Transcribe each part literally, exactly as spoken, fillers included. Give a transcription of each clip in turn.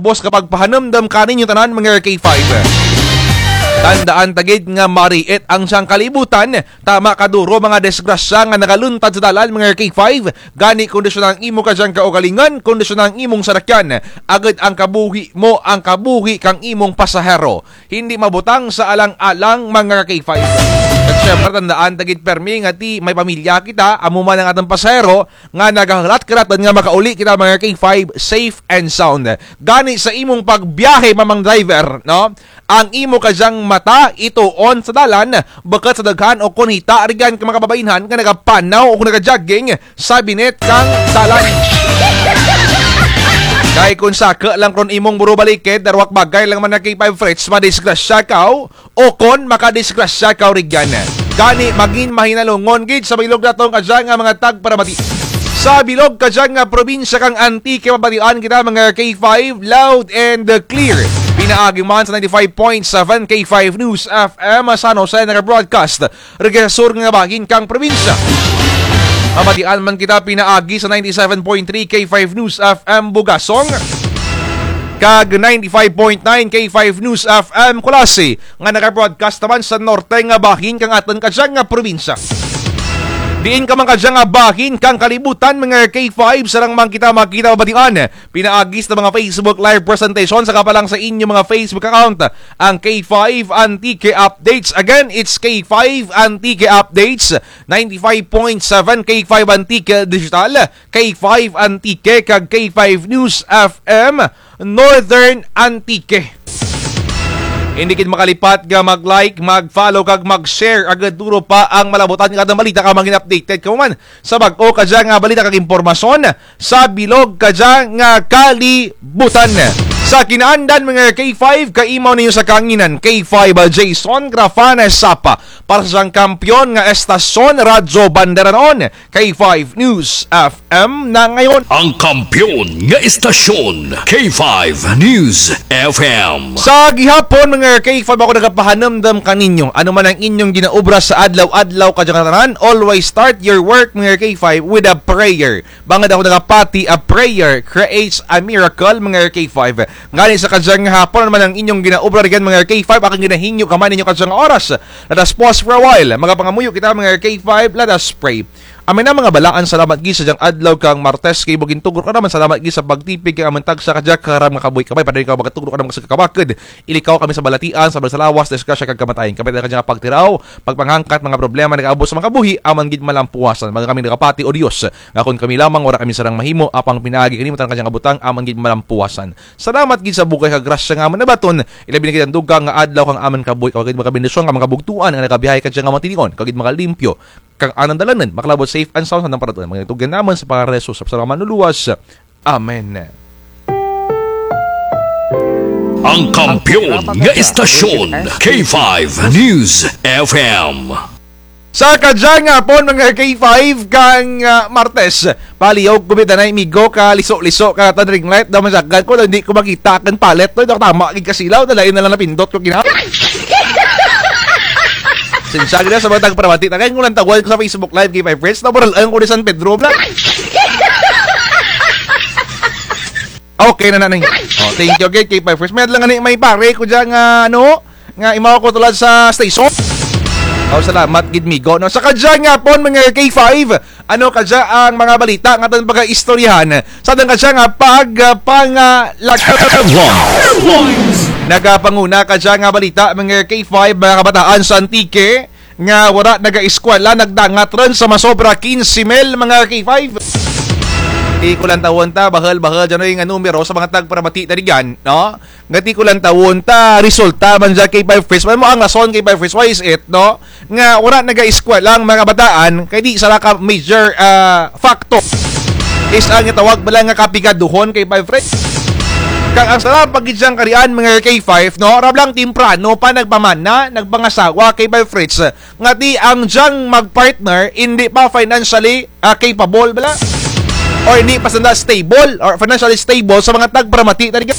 Boss, kapagpahanumdum kaninyo tanan, mga K five. Tandaan ta gid nga mariit ang dyang kalibutan, tama kaduro mga disgrasya nga nagaluntad sa dalan, mga K five. Gani kondisyona ang imo kadyang kaugalingon, kondisyona ang imong sarakyan, agud ang kabuhi mo, ang kabuhi kang imong pasahero. Hindi mabutang sa alang-alang, mga K five. At syempre, tandaan ta gid permi nga ti may pamilya kita, amo man ang atun pasahero, nga nagahulat-hulat nga makauli kita, mga K five, safe and sound. Gani sa imong pagbiyahe, mamang driver, no? Ang imo kadyang mata ituon sa dalan, bukut sa daghan o kon hita rugyan ka mga kababainhan nga nagapanaw o nagajogging sa binit kang dalan. Kay kon saka lang ron imong buro balikid, darwa ka bagay lang man, mga K five Fritz, madisgrasya kaw, o kon makadisgrasya kaw rugyan. Gani, mangin mahinalungon gid sa bilog natun kadya nga mga tagparamati. Sa bilog kadya nga probinsya kang Antique, mabatian kita, mga K five, loud and clear. Pinaagi man sa ninety-five point seven K five News F M San Jose, naga-broadcast rugya sa sur nga bahin kang probinsya. Mabatian man kita pinaagi sa ninety-seven point three K five News F M Bugasong, kag ninety-five point nine K five News F M Culasi, nga naga-broadcast naman sa norte nga bahin kang atun kadya nga probinsya. Diin ka man kadya nga bahin kang kalibutan, mga K five, sarang man kita makita, mabatian pinaagi sa mga Facebook Live presentation, saka pa lang sa inyo mga Facebook account, ang K five Antique Updates. Again, it's K five Antique Updates, ninety-five point seven K five Antique Digital, K five Antique, kag K five News F M Northern Antique. Hindi gid makalipat nga mag-like, mag-follow, kag mag-share. Agud duro pa ang malabutan nga atun balita, kag mangin updated kamo man sa bag-o kadya nga balita kag impormasyon sa bilog kadya nga kalibutan. Sa kinaandan, mga K five, kaimaw ninyo sa kanginan, K five Jason Grafana Sapa, para sa dyang kampiyon nga estasyon, Radyo Bandera noon, K five News F M na ngayon. Ang kampiyon nga estasyon, K five News F M. Sa gihapon, mga K five, ako nagapahanumdum kaninyo. Ano man ang inyong ginaobra sa adlaw-adlaw kadya nga tanan, always start your work, mga K five, with a prayer. Bangud ako nagapati, a prayer creates a miracle, mga K five. Gani sa kadya nga hapon, ano man ang inyong ginaobra rugyan, mga K five, akun ginahingyo kamo ninyo kadya nga oras. Let us pause for a while. Magapangamuyo kita, mga K five, let us pray. Amen na, mga balaan, salamat gid sa dyang adlaw kang Martes, kay ibo gintugro ka namun, salamat gid sa pagtipig kang amun tagsa kadya, kararam nga kabuhi, kabay, padayag ka magatugro ka namun sa kakabakud. Ilikaw kami sa balatian, sa lawas, disgrasya kag kamatayon. Kabay kadya nga pagtiraw, pagpanghangkat, mga problema nagaabot sa mga kabuhi, amun gid malampuwasan. Mga kami nagapati, O Dios, nga kon kami lamang, wara kami sarang mahimo, apang pinaagi kanimo tanan kadya nga butang, amun gid malampuwasan. Salamat gid sa bugay kag grasya nga amun nabaton, ilabi na gid ang dugang nga adlaw kang amun kabuhi, kag gid makabendisyon kang mga bugtuan nga nagabiyahe kadya nga matinion, kag gid makalimpyo kang anang dalanon, makalabot safe and sound sa anang paratuan. Mga tugyan namun sa pangaran ni Jesus, sa Manluluwas. Amen. Ang kampiyon nga estasyon, K five News F M. Sa kadya nga hapon, mga K five, kang, ah, Martes, palihog ko bida na, amigo, ka liso-liso ka atun ring light, daw masagad ko, daw hindi ko makita kang palet, no? Daw tama gid kasilaw, daw lain na lang napindot ko kina. Sensya gid sa mga tagparamati, kay ko lang tawag ko sa Facebook Live, K five Friends, nabural ang ko ni San Pedro, bla. Okay na na, Nay. Oh, thank you, okay, K five Friends. May adlaw nga ni, may pare ko dyan nga, ano, nga imaw ko tulad sa station. Oh, salamat gid, migo, no? Sa kadya nga hapon, mga K five, ano kadya ang mga balita nga atun pagaistoryahan sa atun kadya nga pag, ah, pangalag-, Headlines. Nagapanguna kadya nga balita, mga K five, mga kabataan sa Antique nga wara nagaeskwela, nagdangat run sa masobra kinse mil, mga K five. Ti ko lang tawon ta, bahul-bahul dyan nga numero sa mga tagparamati ta dyan, no? Nga ti ko lang tawon ta, resulta man dyan, K five Friends. Ano mo ang rason, K five Friends? Why is it, no? Nga wara nagaeskwela ang mga kabataan, kay di sara ka major, ah, factor. Is ang tawag bala nga kapigaduhon, K five Friends. Kag ang sara pa gid dyang karian, mga K five, no? Rablang temprano pa nagpamana, nagpangasawa, K five Friends. Nga ti ang dyang magpartner, hindi pa financially, ah, capable bala. Or hindi pa sanda stable, or financially stable sa mga tagparamati ta dyan.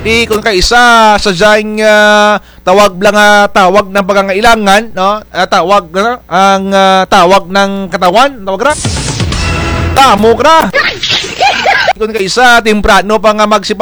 Ti kon kaisa sa dyang, ah, tawag bala nga tawag ng pangangailangan, no? Ah, tawag, ano? Ang, ah, tawag ng katawan, tawag ra. Tamo ra. Kon kaisa, temprano pa nga magsipas